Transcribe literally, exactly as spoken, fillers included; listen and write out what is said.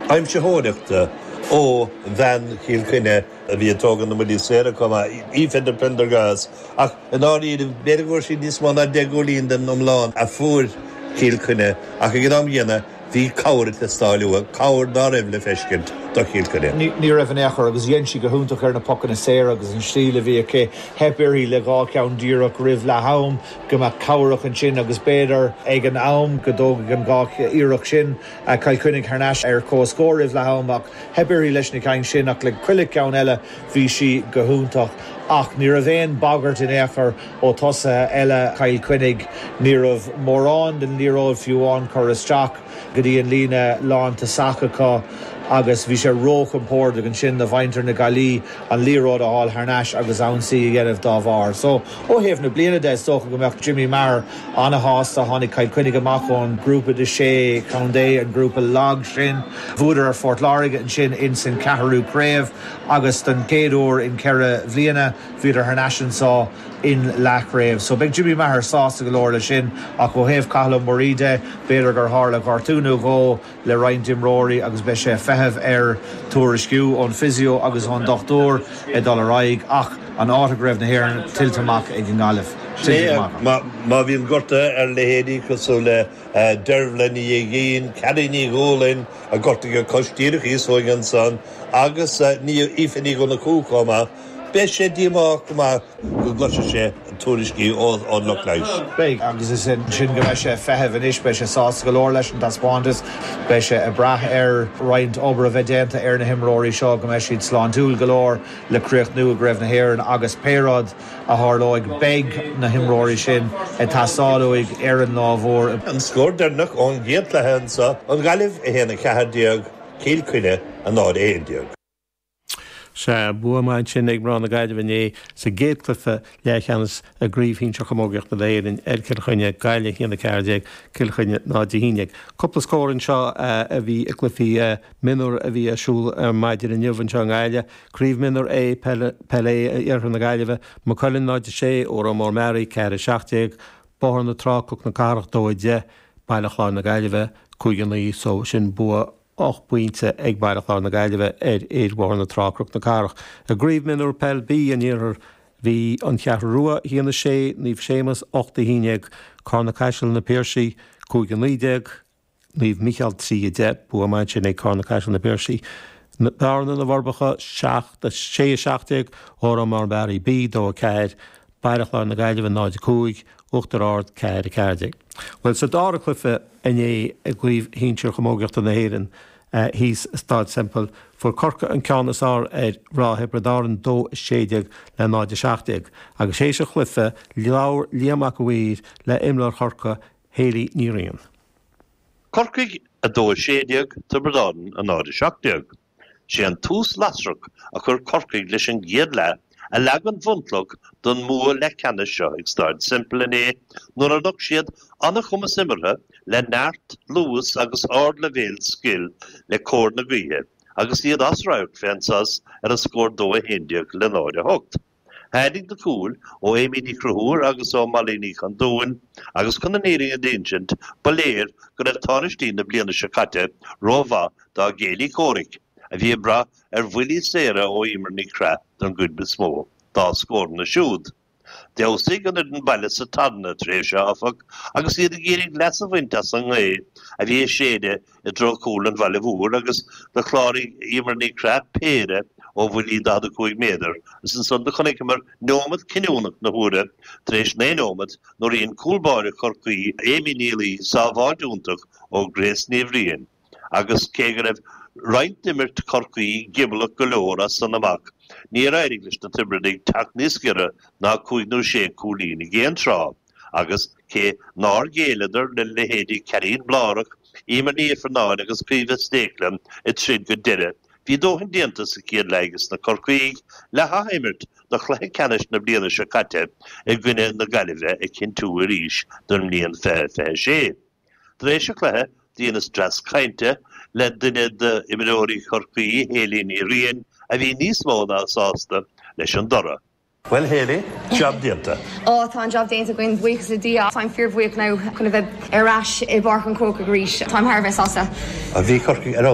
Aimsitheoireachta ó bhean Chill Chainnigh a bhí ag tógáil na mbuillí saora chomh maith Aoife Prendergast ach i ndáiríre b'fhéidir go raibh sí níos mó ná deich gcúilín den iomlán a fuair Cill Chainnigh ach ag an am céanna bhí cabhair ag teastáil uathu, cabhair nach raibh le feiscint do Chill Chainnigh. Ní raibh in aon chor agus dhein sí go hiontach ar na pocanna saora agus an stíl a bhí aici theip uirthi le dhá cheann díreach roimh leath am go mbeadh cabhrach ansin agus b'fhéidir ag an am go dtógfaidh an dhá iarracht sin Cill Chainnigh thar n-ais ar comhscór roimh leath am ach theip uirthi leis na cinn sin ach le chuile cheann eile bhí sí go hiontach ach ní raibh aon bagairt in aon chor ó tosaithe eile Chill Chainnigh ní raibh mórán den liathróid fiú amháin curtha isteach go dtí an líne lántosach acu agus bhí sé róchompordach ansin do mhuintir na Gaillimhe an liathróid a fháil thar n-ais agus ionsaí a dhéanamh dá bharr. So ó thaobh na bliana de is dócha go mbeadh Jimmy Maher an-shásta tháinig Cill Chainnigh amach ón grúpa de sé chontae an grúpa lag sin. Bhuadar ar Phort Láirge ansin in san ceathrú craobh agus den chéad uair in ceithre bliana bhíodar thar n-ais anseo in leathchraobh. So beidh Jimmy Maher sásta go leor le sin ach ó thaobh Cathal Ó Muirí de b'fhéidir gur tharla gortú nó dhó le roinnt imreoirí agus beidh sé feitheamh ar tuairisciú ón physio agus ón dochtúir ag dul ar aghaidh ach an áit i gCraobh na hÉireann tuillte amach ag an nGaillimh. Má bhíonn gorta ar leithéidí cosúil le Dearbhla Ní Aoidhín, Ceadaí Ní Dhúlainn a gortaigh a cos díreach thíos ansan agus ní Aoife Ní Dhonnchú chomh maith. Beidh sé díomách go maith go gcloisfidh sé tuairiscí ón lucht leighis. Beidh agus is sin go mbeidh sé feitheamh anois beidh sé sásta go leor leis an taispeántas, beidh sé ag brath ar roinnt obair a bheith déanta ar na himreoirí seo go mbeidh siad sláintiúil go leor le críochnú i gCraobh na hÉireann agus pé rud a tharlóidh beidh na himreoirí sin ag teastáil uaidh ar an lá mór. An scór deireanach ón gcéad chluiche anseo an Ghaillimh a haon a ceathair déag Cill Chainnigh a náid aon déag. Sea bua maith sin ag mná na Gaillimhe inné sa gcéad chluiche leathcheannais i gCraobh Shinsir Chamógaíochta na hÉireann ar Chill Chainnigh Gaillimh a haon a ceathair déag Cill Chainnigh náid a haon déag. Cúpla scór anseo a bhí i gcluichí mionúr a bhí ar siúl ar maidin inniu anseo i nGaillimh. Craobh mionúr A Peil A Iarthar na Gaillimhe, Maigh Cuilinn náid a sé Órán Mór Meáraí ceathair a seacht déag, Bóthar na Trá Cnoc na Cathrach dó a deich, Baile Chláir na Gaillimhe cúig a naoi so sin bua ocht bpointe ag Baile Chláir na Gaillimhe ar fhir Bhóthar na Trá Cnoc na Cathrach. I gCraobh Mionúr Peil B an Iarthair bhí an Cheathrú Rua a haon a sé, Naomh Séamus ocht a haon déag, Carna Caiseal na Piarsaigh cúig a naoi déag, Naomh Mícheál trí a deich, bua maith sin ag Carna Caiseal na Piarsaigh. Bearna na bhForbacha seacht a sé a seacht déag, Órán Mór Meáraí B dó a ceathair, Baile Chláir na Gaillimhe náid a cúig, Uachtar Ard ceathair a ceathair déag. Well sa dara cluiche inné i gCraobh Shinsir Chamógaíochta na hÉireann thíos i Staid Semple, fuair Corcaigh an ceann is fearr ar mhná Thiobraid Árann dó a sé déag le náid a seacht déag. Agus théis an chluiche labhair Liam Mac a' Mhaoir le imreoir Chorcaí Hayley Ní Riain. Corcaigh a dó a sé déag, Tiobraid Árann a náid a seacht déag. Sé an tús lasrach a chuir Corcaigh leis an gcéad leath a leag an bhunchloch don mbua leathcheannais seo ag Staid Semple inné nuair a nocht siad an-chumas imeartha le neart, luas agus ardleibhéal scil le cóir na gaoithe agus iad as radharc fén sos ar an scór dó a haon déag le náid a hocht. Tháinig na cúil ó Amy Ní Chonchúir agus ó Molly Ní Chondúin agus chun an fhírinne a d'insint ba léir go raibh tánaistí na bliana seo caite rómhaith dá gcéilí comhraic a bhí ag brath ar bhuillí saora ó Emer Ní Chreath don gcuid is mó dá scóranna siúd. D'fheabhsaigh an fhoireann baile sa tarna tréimhse áfach agus iad ag iarraidh leas a bhaint as an ngaoth a bhí ag séideadh i dtreo chúl an bhaile mhóir agus do chláraigh Emer Ní Chreath péire ó bhuillí daichead a cúig méadar agus ansan do chonaiceamar neomat cinniúnach na huaire tar éis naoi nóiméad nuair a dhein cúl báire Chorcaí Amy Ní Laoi sábháilt iontach ó Grace Ní Bhriain. Agus cé go raibh roinnt d'imirt Chorcaí giobalach go leor as san amach, níor éirigh leis na Tiobradaigh teacht níos giorra ná cúig nó sé cúilín ag aon tráth, agus cé nár ghéilleadar le leithéidí Karine Blárach, Emer Ní Ifearnáin agus Caoimhe Stécla ag troid go deireadh, bhí dóthain déanta sa chéad leath ages na Corcaígh le hathimirt do chluiche ceannais na bliana seo caite i gcoinne na Gaillimhe a chinntiú arís don mbliain fiche fiche sé. Tar éis an chluiche, dheineas dreas cainte le duine d'imreoirí Chorcaí, Hayley Ní Riain, a bhí níos mó ná sásta leis an dtoradh. Well Haley, job déanta. Ó tá an job déanta againn buíochas le Dia Táim fíorbhuíoch now chun a bheith ar ais i bPáirc an Chrócaigh arís Táim thar a bheith sásta. A bhí Corcaigh ar